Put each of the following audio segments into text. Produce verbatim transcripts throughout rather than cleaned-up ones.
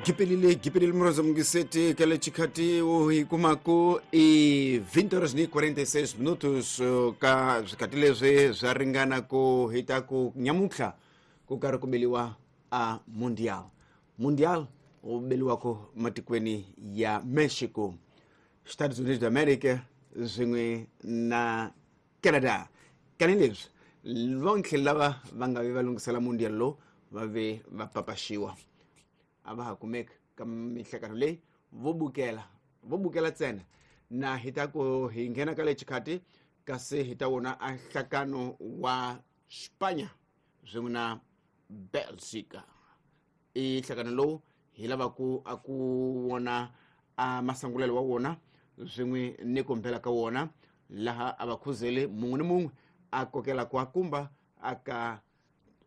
Gipelile gipelile mroza mungiseti kale chikati hi kumaku i vinte horas ni quarenta e seis minutos ka swikati leswi swa ringana ku hita ku nyamutlha ku karhi ku beliwa a mundial mundial wu beliwako matikweni ya Mexico, Estados Unidos da America swin'we na Canada. Kani leswi vonke lava va nga vi va lunghisela mundial lowu va ve va papaxiwa a va ha kumeka ka mihlekano leyi vo bukela vo bukela ntsena na hi ta ku hi nghena ka le xikhati kasi hi ta wona a nhlakano wa Spanya swin'we na Belgica. I nhlakano lowu hi lavaku a ku wona a masangulelo wa wona swin'we ni ku mbela ka wona laha a va khuzele mun'we ni mun'we a kokela ku a kumba a ka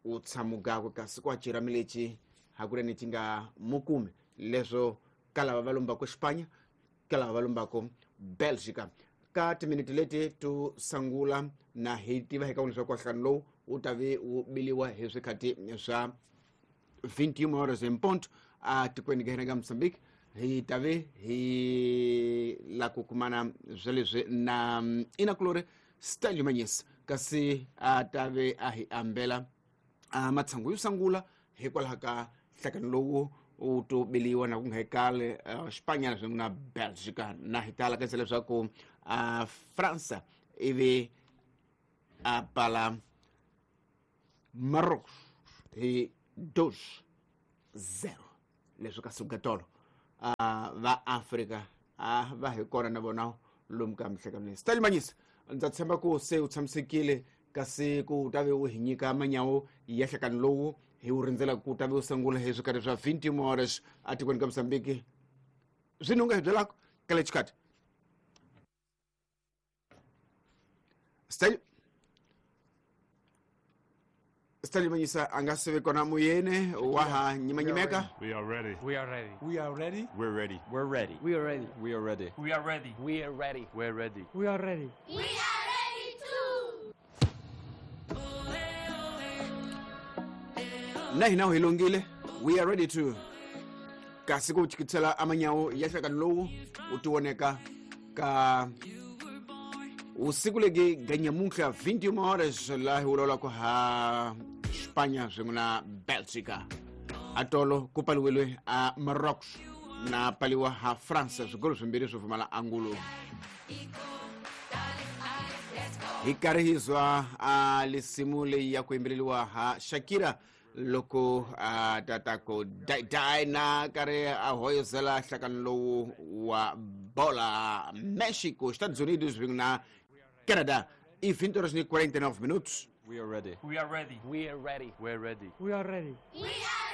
u tshamugakwe kasi ku a ciramiletši hakunene ti nga mukumi leswo ka lava va lombako Spanya ka lava va lombako Belgica. Ka timiniti leti to sangula na hi tiva hi ka leswaku nhlangano lowu wu ta ve wu biliwa hi swikhati swa vinte e uma horas em ponto a tikweni ka hina ka Mozambique. Hi ta ve hi la ku kumana swa leswi na Inakulore Stanley Manyisa kasi a ta ve a hi ambela a matshangu yo sangula hikwalaho ka nhlakano lowu wu to biliwa na ku nga hekale Spanya swin'we na Belgica. Na hi tala kanisa leswaku a Fransa ivi a pala Marrocos hi dois zero leswi ka suka tolo a va Afrika a va hi kona na vona lomu ka mihlekano leyi. Stanley Manyisa, ndza tshemba ku se u tshamisekile kasi ku ta ve u hi nyika manyawo ya nhlakano lowu hi wu rindzela ku ta ve u sungula hi swikarhi swa vinte e uma horas atikweni ka Mozambique. Swini u nga hi byelaka ka le xikhati? Stanley Stanley Manyisa a nga se ve kona moyeni wa ha nyimanyimeka. We are ready. We are ready. We are ready. We're ready. We're ready. We are ready. We are ready. We are ready. We are ready. We're ready. We are ready. We are ready too. Na hina hi lungile. We are ready to. Kasi ku chikitsela amanyawo ya nhlakano lowu wu tivoneka ka usiku legi ganyamuhla vinte e uma horas laha hi vulavulaka ha Spanya swin'we na Belgica. Atolo ku paliwile a Marrocos na paliwa ha France swigolo swimbirhi swo pfumala angulo. Hi karhi hi zwa a lisimu leyi ya ku yimbeleriwa ha Shakira loko a tata ku dai dai na karhi a hoyozela nhlakano lowu wa bola Mexico, Estados Unidos swin'we na Canada. I vinte horas e quarenta e nove minutos. We are ready. We are ready. We are ready. We're ready. We are ready. We are